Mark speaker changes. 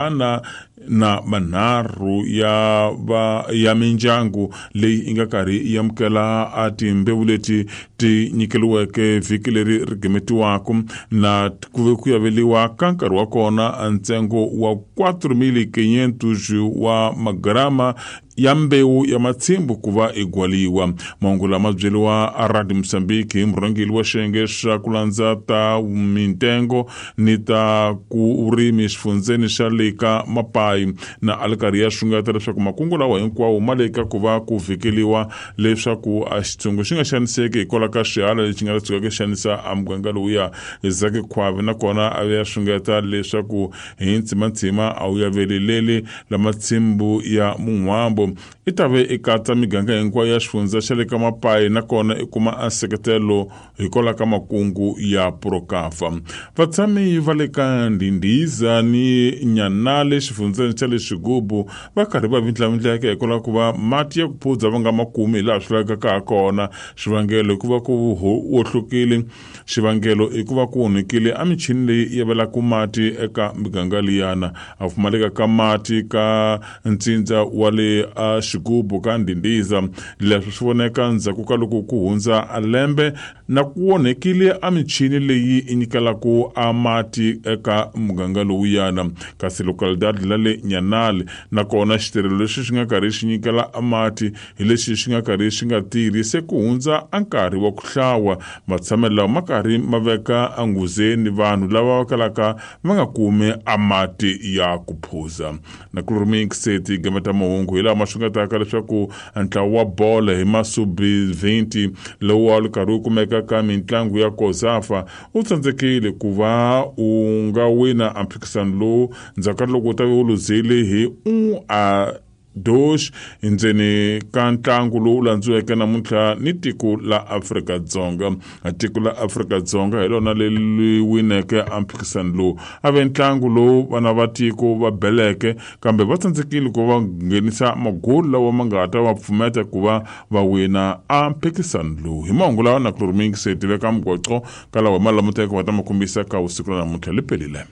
Speaker 1: Ana na manharhu ya va ya mindyangu leyi yi nga karhi yi amukela a timbewu leti ti nyikeriweke vhiki leri ri gimetiwaka na ku ve ku yaveliwa ka nkarhi wa kona ntsengo wa 4500 wa magrama ya mbewu ya matshimbu ku va i gwaliwa. Mahungu lama byeriwa a Radio Mozambique hi murhangeri wa xiyenge xa ku landza ta mintengo ni ta ku vurimi xifundzeni xa le ka Mapayi na a li karhi ya xungeta leswaku makungu lawa hinkwawo ma le ka ku va ku vhikeliwa leswaku a xitshungu xi nga xaniseki hikwalaho ka xihala lexi nga ta tshuka xi xanisa a muganga lowuya. Zaki Khwavi nakona a ya xungeta leswaku hi ntsimantsima a wu yaveleleli la matshimbu ya mun'hwambo i ta ve i katsa miganga hinkwayo ya xifundza xa le ka Mapayi nakona i kuma a nseketelo hikwalaho ka makungu ya Prokafa. Vatshami va le ka Ndhindhiza ni Nyanale xifundzeni xa le Xigubu va karhi va vindlavindleka hikwalaho ku va mati ya ku phuza va nga ma kumi hilaha swi lavekaka ha kona. Xivangelo i ku va ku wohlokile. Xivangelo i ku va ku onhekile a michini leyi yavelaka mati eka miganga liyana. A pfumaleka ka mati ka ntsindza wa le a Xigubu ka Ndhindhiza. Leswi swi voneka ndzhaku ka loko ku hundza a lembe na ku onhekile a michini leyi yi nyikelaka a mati eka muganga lowuyana. Kasi localidade la le Nyanale nakona xitirhelo lexi xi nga karhi xi nyikela a mati hi lexi xi nga karhi xi nga tirhi se ku hundza a nkarhi wa ku hlawa. Matshamelo lawa ma karhi ma veka enghozini vanhu lava va kalaka va nga kumi a mati ya ku phuza. Na Chloromix ti gameta mahungu hi laha ma xungetaka leswaku ntlawa wa bolo hi masubi 20 lowu a wu karhi wu kumeka ka mitlangu ya Kozafa u tsandzekile ku va u nga wina a mphikizano lowu ndzhaku ka loko u ta ve u luzile hi 1 a 2 endzeni ka ntlangu lowu landziweke namuntlha ni tiko la Afrika-Dzonga. Tiko la Afrika-Dzonga hi lona leri wineke a mphikizano lowu. A ve ntlangu lowu vana va tiko va beleke kambe va tsandzekile ku va nghenisa magoli lawa ma nga ta va pfumeta ku va va wina a mphikizano lowu. Hi mahungu lawa na Chloromix tiveka mugwaco ka lawa hi ma languteke va ta ma kombisa ka vusiku ra namuntlha li pelile.